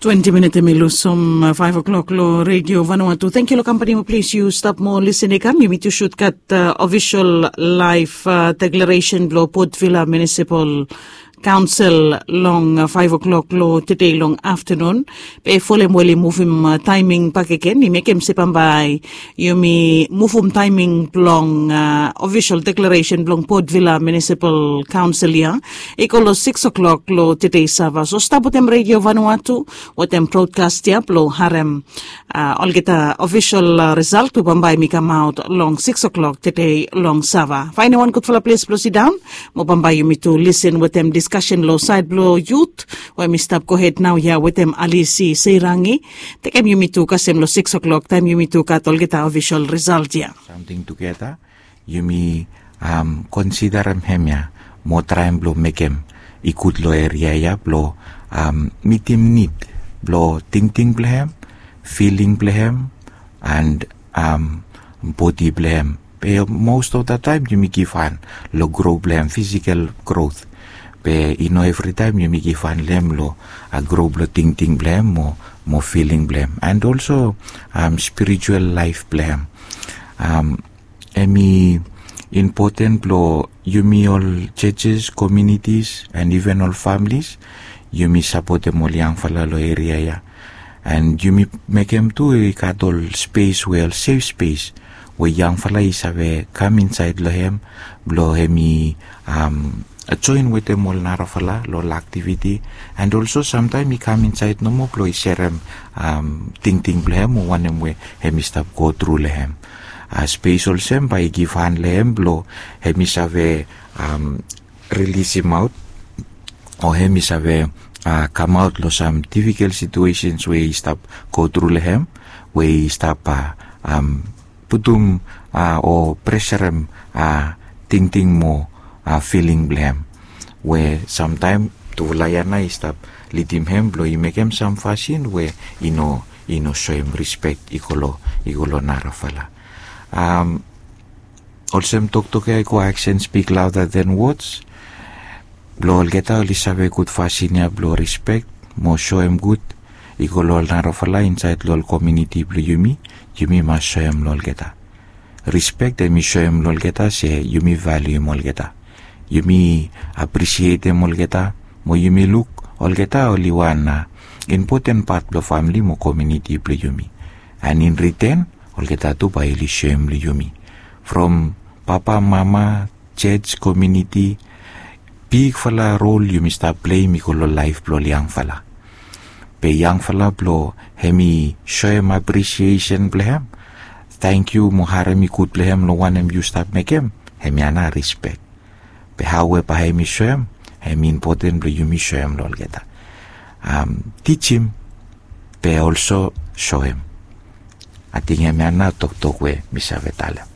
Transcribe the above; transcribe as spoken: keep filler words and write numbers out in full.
Twenti minit em i lusim faiv o'klok long Redio Vanuatu. Thank you long kampani mo plis yu stap mo lisin i kam. Yumi tu shut gat ofisol laif deklaresen blong Port Vila Munisipal Kaonsel long faiv o'klok long tede long aftanun. Be folem we oli muvum taiming bakegen i mekem se bambae yumi muvum taiming blong ofisol deklaresen blong Port Vila Munisipal Kaonsel ya i go long siks o'klok long tede sava. So stap wetem Redio Vanuatu wetem brodkas ya blong harem olgeta ofisol risalt we bambae mi kamaot long siks o'klok tede long sava. Faenem wan gudfala ples blong sidaon mo bambae yumi tu lisin wetem diskasen long saed blong yut we mi stap gohed naoia wetem Alisi Seirangi. Tekem yumi tu kasem long siks o'klok taem yumi tu gat olgeta ofisol risalt ya. Samting tugeta yumi konsiderem hemia mo traem blong mekem i gud long eria ya blong mitim nid blong tingting blong hem, filing blong hem, and bodi blong hem. Be most of the time yumi givhan long gro blong hem, fisikal grot. Be i no evritaem yumi givhan long hem long gro blong tingting blong hem mo filing blong hem, and olso spiritual laef blong hem. Hem i impoten blong yumi ol jejes, kominitis, and iven ol familis yumi sapotem ol yangfala long eria ya. And yumi mekem tu i gat ol spes we ol sef spes we yangfala i save kam insaed long hem blong hem i joen wetem ol narafala long ol aktiviti. And olso samtaem i kam insaed nomo blong i serem tingting blong hem o wanem we hem i stap gotru long hem. Spes olsem bae i givhan long hem blong hem i save rilisim aot o hem i save kamaot long sam difikel situesens we i stap gotru long hem, we i stap putum o preserem tingting mo filing blong hem, we samtaem tufala ya nao i stap lidim hem blong i mekem sam fasin we i no i no soem rispek i go long i go long narafala. Olsem toktok ya i go, action speak louder than words. Blong olgeta oli save gud fasin ya blong rispek mo soem gud i go long ol narafala insaed long ol kominiti blong yumi, yumi mas soem long olgeta. Rispek hem i soem long olgeta se yumi valium olgeta. Yumi aprisietem olgeta mo yumi luk olgeta oli wan impoten pat blong famili mo kominiti blong yumi. And in riten olgeta tu bae oli soem long yumi. From papa, mama, jej, kominiti, bigfala rol yumi stap pleim i go long laef blong ol yangfala. Be yangfala blong hem i soem aprisiesen blong hem, tangkiu mo harem i gud blong hem long wanem yu stap mekem, hemia nao rispek. Be hao we bae hem i soem, hem i impoten blong yumi soem long olgeta. Tijim be olso soem. Ating hemia nao toktok we mi save talem.